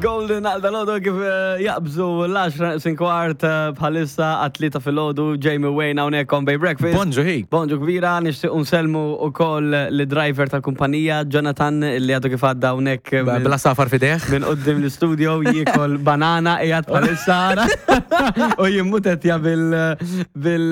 Golden għal dalodu kif eh, jaqbżu l-10 neqsin kwart eh, bħalissa għat-tlieta filgħodu Jamie Wayne hawnhekk on Bay Breakfast. Bonġu hi. Bonġu kbira, nixtieq nselmu ukoll li driver tal-kumpanija Jonathan li għadu kif għadda hawnhekk minn- Bla safar fideħ. minn qudiem l-istudio jiekol banana qiegħed bħalissa ara. u jimmutetja bil bil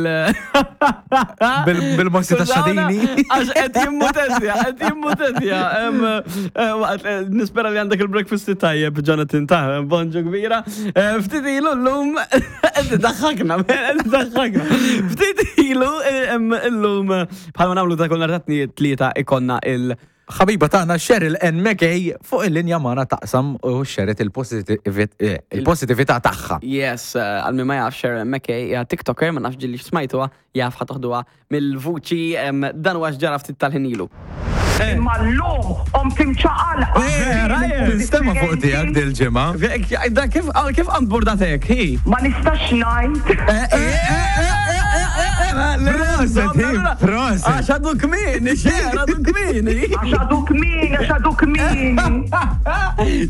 Bil-mossi ta' xadini. Għax qed jimmutetja, qed jimmutetja. Em, eh, waqt, eh, Nispera li għandek il-breakfast tajjeb, Jonathan, ta' bonġu kbira. Eh, Ftit ilu llum qed daħħakna, qed daħħakna. Ftit ilu eh, em, illum eh, bħalma nagħmlu ta' kull nhar ta' tlieta ikonna il- Ħabiba tagħna Cheryl N. McKay fuq il-linja magħna taqsam u xeret il-positività tagħha. Yes, eh, għal min ma jafx Sharon McKay hija TikToker, ma nafx ġilli smajtuha, jaf ħa toħduha mill-vuċi em, dan huwa x'ġara ftit tal-ħin ilu. Imma llum qomt imċaqalqa. Vera, eh? Tinstema' fuq tiegħek dil-ġimgħa. Da kif kif għand burdatek, hi? Ma nistax ngħid. Proset, hi, proset. Għax għadu kmieni, xer, għadu kmieni. Għax għadu kmieni, għax għadu kmieni.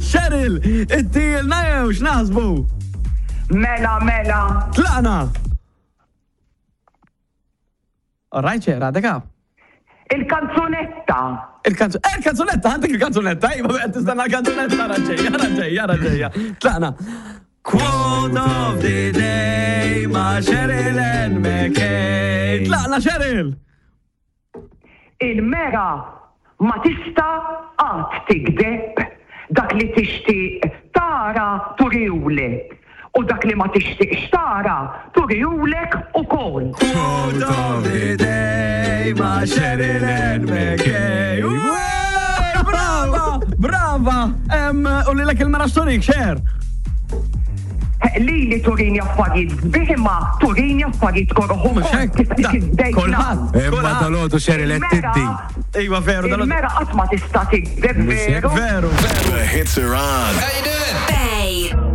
Cheryl, it-tilna jew x'naħsbu? Mela, mela. Tlaqna! All right, Cher, għadek għab. Il-kanzunetta. Il-kanzunetta, eh, il-kanzunetta, għandek il-kanzunetta, iva, qed tistenna l-kanzunetta, raġġejja, raġġejja, raġġejja. Tlaqna. Quote of the day ma' Cheryl Ann McKay. Tlaqna, Cheryl! Il-mera ma tista' qatt tigdeb. Dak li tixtieq tara turihulek u dak li ma tixtieqx tara turihulek ukoll. Quote of the day ma' Cheryl Ann McKay. Wey, Brava! Brava! Em, U li l il-mera xturik, Cher? Lili turini affarijiet sbieħ imma turini affarijiet koroh ukoll. Kif kif bdejt Kulħadd. ngħid. Imma dalodu Cheryl qed tiddi. Iva, veru, dal Il-mera qatt ma tista' tigdeb veru. Veru, veru. The hits are on. Bang.